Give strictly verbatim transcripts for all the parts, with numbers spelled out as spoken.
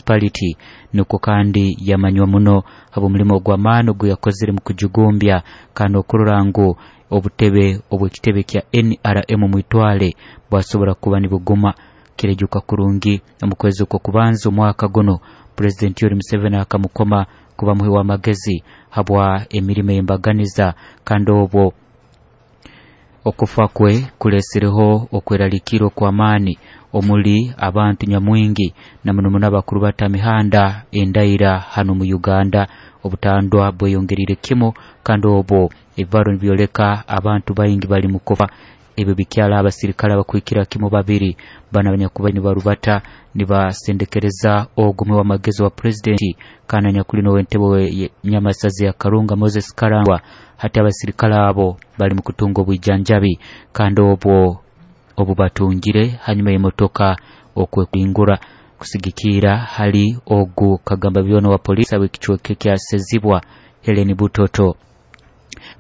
Municipality. Nukwo kandi yamanywa muno habw'omulimo gw'amaani ogu yakozere mu kujugumbya kandi okurora ngu obutebe obw'ekitebe kya N R M mwitwale bwasobora kuba nibuguma. Kirejuka kurungi omu kwezi okw'okubanza omwaka guno President Yoweri Museveni akamukoma kuba muhi w'amagezi habwa emirimo ey'embaganiza, kandi obwo okufa kwe kulesireho okweraliikirra okw'amaani omuli abantu nyamwingi na muno muno abakuru batamihanda endaira hano mu Uganda. Obutandwa bweyongerire kimu kandi obwo ebibaro nibyoleka abantu baingi bali mu kufa. Ebyo bikyala abasirikale abakwikira kimu babiri bana abanyakuba nibarubata nibasendekereza ogumwe w'amagezi wa pulezidenti kandi anyakuli n'ow'entebe Nyamasazi ya Karunga Moses Karangwa. Hati abasirikale abo bali mu kutunga obwijanjabi kandi obwo obubatungire hanyuma y'emotoka okwekingura kusigikira hali ogu Kagamba byona wa polisi ab'ekicweka kya Sezibwa Helen Butoto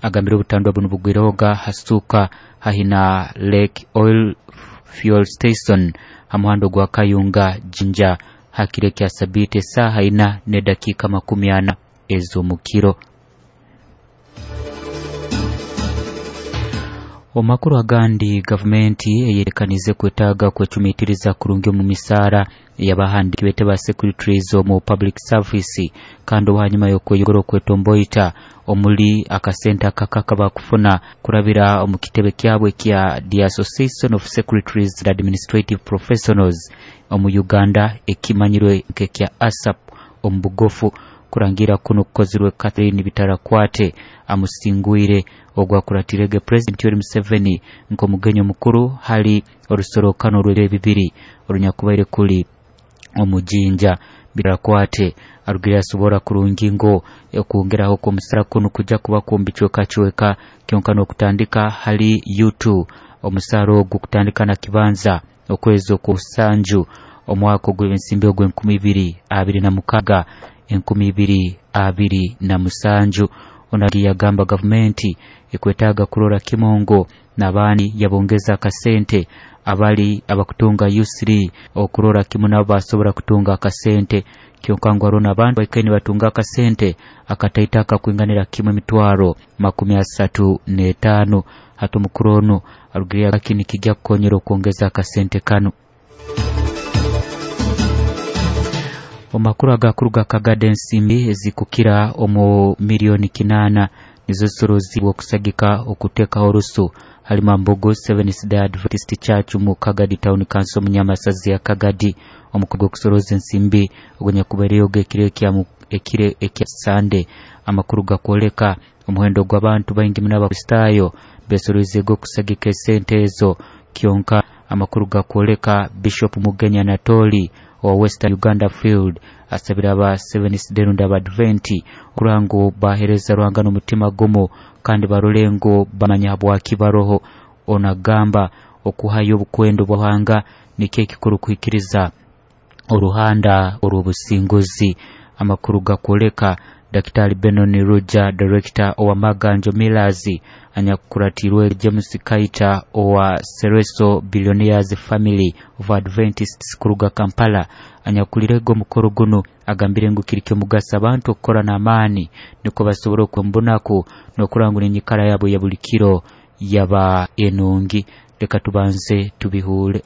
agambire obutandwa buno bugwirehoga hasuka hahina Lake Oil Fuel Station ha muhando gwa Kayunga Jinja hakire kya sabiti saha ina ne dakika makumi ana ez'omukiro. Omakuru agandi, gavumenti eyerekanize kwetaaga kwecumitiriza kurungi omu misaara y'abahandiiki bete ba secretaries omu public service, kandi hanyuma y'okweyongera okwetomboita omuli akasente akakaka bakufuna kurabira omu kitebe kyabwe kya The Association of Secretaries and Administrative Professionals omu Uganda ekimanyirwe nk'ekya A S A P omu bugufu. Kurangira kuno kukozirwe Catherine Bitarakwate amusingwire ogwakuratirege President Yoweri Museveni nk'omugenyi omukuru hali orusorokano rw'ebiro bibiri orunyakubaire kuli omujinja. Bitarakwate arugire asobora kurungi ngo okwongeraho kw'omusara kuno kujja kuba kumbicwekacweka kyonka n'okutandika hali U two omusara ogu kutandika na kibanza okwezi okw'osanju omwaka ogw'ensimbi ogw'enkumi ibiri abiri na mukaga enkumi ibiri abiri na musanju. Onagi yagamba gavumenti ekwetaaga kurora kimongo n'abaani yabongeza akasente abali abakutunga U three okurora kimu nabo basobora kutunga akasente kyonka ngu hariho n'abantu baikaire nibatunga akasente akataito akakwinganira kimu emitwaro makumi asatu n'etaano. Hati omukuru onu arugire yagamba nikijja kukonyera okwongeza akasente kanu. Omakuru agakuruga Kagadi ensimbi ezikukira omu milioni kinana nizo zisorozibwa okusagika okuteekaho orusu hali Mambogo Seventh Day Adventist Church mu Kagadi Town Council mu Nyamasazi ya Kagadi. Omukuru gw'okusoroza ensimbi ogunyakubaire ekiro ekya ekiro ekya Sunday. Amakuru gakwoleka omuhendo gw'abantu baingi muno Abakristaayo besoroize okusagika esente ezo. Kyonka amakuru gakwoleka Bishop Mugenya Anatoli owa Western Uganda Field asabira aba Seventh Day Advent okurora ngu bahereza Ruhanga n'omutima gumu kandi barole ngu bamanya habwaki baroho. Onagamba okuhayo obukwendo bwa Ruhanga nikyo ekikuru kuhikiriza oruhanda orw'obusinguzi. Amakuru gakwoleka Daktari Benon Ruja, Director owa Maganjo Millers, anyakuratirwe James Kaita owa Sereso Billionaires Family of Adventists kuruga Kampala, anyakulirego omukoro guno agambire ngu kiri ky'omugaso abantu okukora n'amaani niko basobora okwembunaku n'okurangura enyikara yabo ya buli kiro yaba enungi. Leka tubanze tubihure.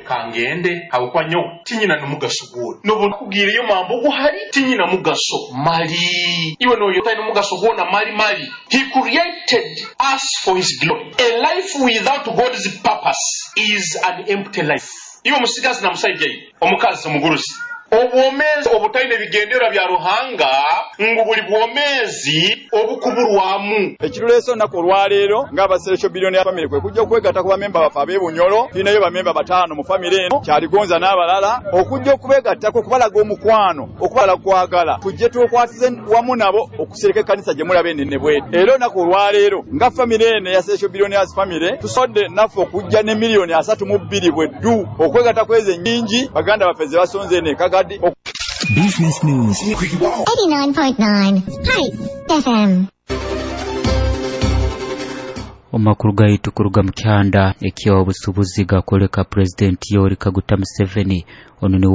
Kangende habwokuba nyowe tinyina n'omugaso gwona nobu nakubwire yo mambo guhari tinyina mugaso mali iwe noyo tayina omugaso gwona mali mali. He created us for his glory. A life without God's purpose is an empty life. Iwe musigazi na musajja omukazi omugurusi obwomezi obutaine bigendererwa bya Ruhanga ngu buli bwomezi obukuburwamu. Ekiruleeso olunaku olwaleero ng'abaseresho Billionaire Family kwe kujja okwegatta ku bamemba baffe ab'Ebunyolo. Tulinayo bamemba bataano mu famire eno, Kyaligonza n'abalala, okujja okubeegattako okubalaga omukwano, okubalaga okwagala, tujje tukwatize wamu nabo okusereka ekkanisa gye mulaba ennene bw'eti. Era olunaku olwaleero nga famire eno eya Seresho Billionaires Family tusobodde naffe okujja ne miliyoni asatu mu bbiri bwe ddu okwegatta kw'ezo ennyingi baganda baffe ze basonze eno e Kagadi. Business News eighty-nine point nine Heights F M. Omakuru gaitu kuruga mu kyanda eky'obusuubuzi gakwoleka Pulezidenti Yoweri Kaguta Museveni ono niwe